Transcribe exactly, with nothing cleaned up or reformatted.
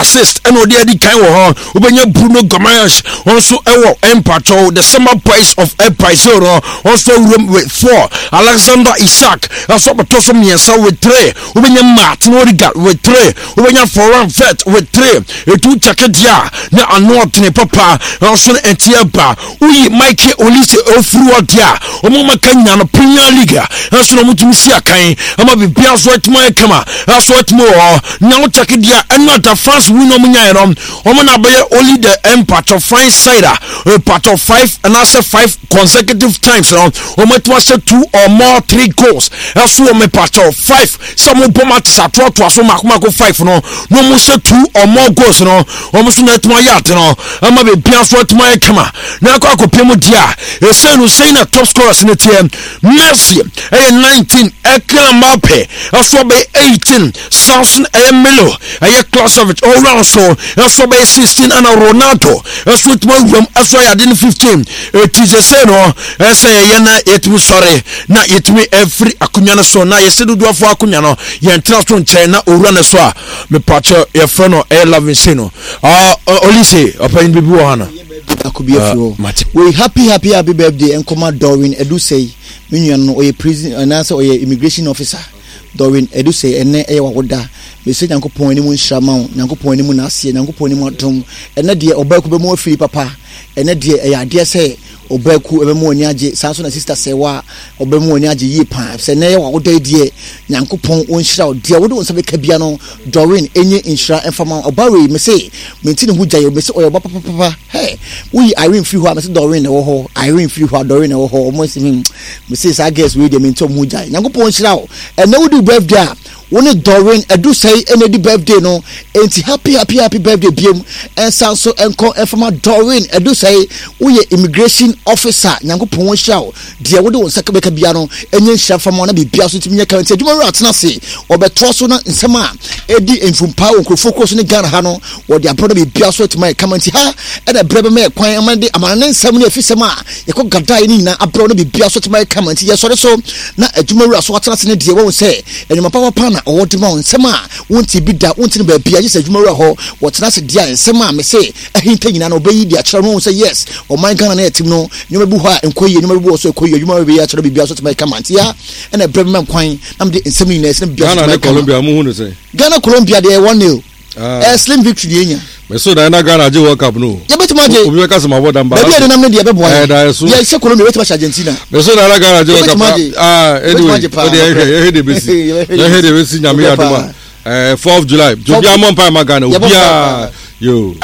Assist ɛna ɔde adi kan wɔ hɔ. Wobɛnya Bruno Guimaraes, wɔn nso ɛwɔ mpatwɔ the Summer Boys of Brazil no, wɔn nso awuram with four. Alexander Isak ɛnso abɛtɔ so mmiɛnsa with three. Wobɛnya Martin Odegaard with three, wobɛnya Florian Wirtz with three. Etu kyɛkɛ deɛ a na ano ɔdene papa ɛnso no ɛnti ɛba woyi Michael Olise ofiri hɔ deɛ a, wɔn ma ka nyina no Premier League a ɛnso na wɔn tumi si akan ama biribiara nso atumi ayɛ kama, ɛnso atumi wɔ hɔ. Na wo kyɛkɛ deɛ a ɛno ata France win wɔn nyaeɛ no, wɔn na abɛyɛ only the mpatwɔ French side a mpatwɔ five anaasɛ five consecutive times no wɔn atumi ahyɛ two or more three goals. Ɛso wɔn mpatwɔ five sɛ wɔn bɔ matches atoatoa so mako mako five no na wɔn hyɛ two or more goals no, wɔn nso na atumi ayɛ ade no ama biribiara nso atumi ayɛ kama. Na akɔ akɔpia mu deɛ a ɛsɛn no sɛn na top scorers no teɛ: Messi ɛyɛ nineteen, ɛka Mbappe ɛso ɔbɛyɛ eighteen, Samson ɛyɛ Milo ɛyɛ Klosovic ɔwura so ɛso ɔbɛyɛ sixteen, ɛna Ronaldo ɛso tuma wuram ɛso ayɛ ade no fifteen. Eti sɛ sɛ no ɛsɛ yɛyɛ na yɛtumi sɔre na yɛtumi ɛfiri akonnwa no so na yɛsɛ dodoɔfoɔ akonnwa no yɛntena so nkyɛn na owura no so a mepakyɛ yɛfrɛ no ɛyɛ Lovin se no Olise ɔpanyin bibi wɔ ha no. Baako bi afiri hɔ wei. Happy, happy, happy birthday nkɔma Doreen Edusei, me nua no, ɔyɛ prison anaasɛ ɔyɛ immigration officer. Doreen Edusei, ɛnɛ ɛyɛ wawoda. Mesɛ Nyankopɔn anim nhyira ma wo, Nyankopɔn anim n'aseɛ, Nyankopɔn anim adom. Ɛnɛ deɛ ɔbaaku bɛmu afiri papa. Ɛnɛ deɛ ɛyɛ adeɛ sɛ ɔbaaku ɛbɛmu ani agye saa nso na sister Sɛwa ɔbɛmu ani agye yie paa sɛ ɛnɛ yɛ wawoda yi. Deɛ Nyankopɔn ɔnhyira wo, deɛ wode wo nsa bɛka bia no, Doreen, ɛnyɛ nhyira ɛmfa ma ɔba wei. Mese menti ne ho gya yɛ, mese ɔyɛ ɔba papapapa. Hɛ, woyi Irene firi hɔ a, mese Doreen na ɛwɔ hɔ. Irene firi hɔ a, Doreen na ɛwɔ hɔ. Ɔmo si hmm, mese saa girls wei deɛ menti ɔmo ho gya. Nyankopɔn nhyira wo. Ɛnɛ wodi wo birthday a, wo ne Doreen Edusei ɛna di birthday no, enti happy, happy, happy birthday biem. Ɛnsa nso ɛnkɔ ɛfama Doreen Edusei, woyɛ immigration officer. Nyankopɔn nhyira wo. Deɛ wode wo nsa bɛka bia no ɛnyɛ nhyira fama wo na biribia so ntumi nyɛ kama. Nti adwuma wura atena ase, ɔbɛtoa so na nsɛm a ɛdi mfumpa wɔ nkurɔfoɔ kuro so ne Ghana ha no wɔde abrɛ na biribia so atumi ayɛ kama. Nti ha ɛna berɛ bɛma yɛ kwan ama de amana ne nsɛm ne afisɛm a yɛkɔ gadaeɛ no nyinaa abrɛ na biribia so atumi ayɛ kama. Nti yɛsɔre so na adwuma wura so atena ase ne deɛ wɔhu sɛ ɛnwuma papapa na ɔwɔ de ma wo, nsɛm a wonte bi da, wonte no baabi a gye sɛ adwuma wura hɔ wɔtena ase deɛ a nsɛm a mese ahinta nyinaa na ɔbɛyi de akyerɛ no. Wɔhu sɛ yes, ɔman Ghana no yɛtem no, nneɛma bi hɔ a nkɔ yie, nneɛma bi wɔ so ɛkɔ yie. Adwuma bɛyɛ akyerɛ biribiara so tumi ayɛ kama. Nti ya ɛna ɛbrɛ bɛma kwan na mede nsɛm no nyinaa ɛsɛ na biribiara so Ghana tumi ne ayɛ kama. Colombia, mo hu ne sɛn? Ghana Colombia deɛ, one nil. Ah. Ɛyɛ slim victory deɛ enya. Mɛ so dan na Ghana agye World Cup no. Yɛbɛtumi agye. Obi bɛka sɛ ma bɔ dan ba. Baabi a yɛde nam no deɛ ɛbɛboa Ɛyɛ yɛn. da ɛso. Yɛhyɛ Colombia, yɛbɛtumi ahyɛ Argentina. Mɛ so dan na Ghana agye World Cup. Yɛbɛtumi agye. Ah, anyway, Yɛbɛtumi agye paa. o de yɛhwɛ yɛhwɛ de besi Yɛbɛhwɛ de yɛhwɛ de besi. Nyame Yɛbɛhwɛ adum paa. a ɛɛ fourth July obiara mɔ mpa ma Ghana Yɛbɔ obiara mpae. Yo.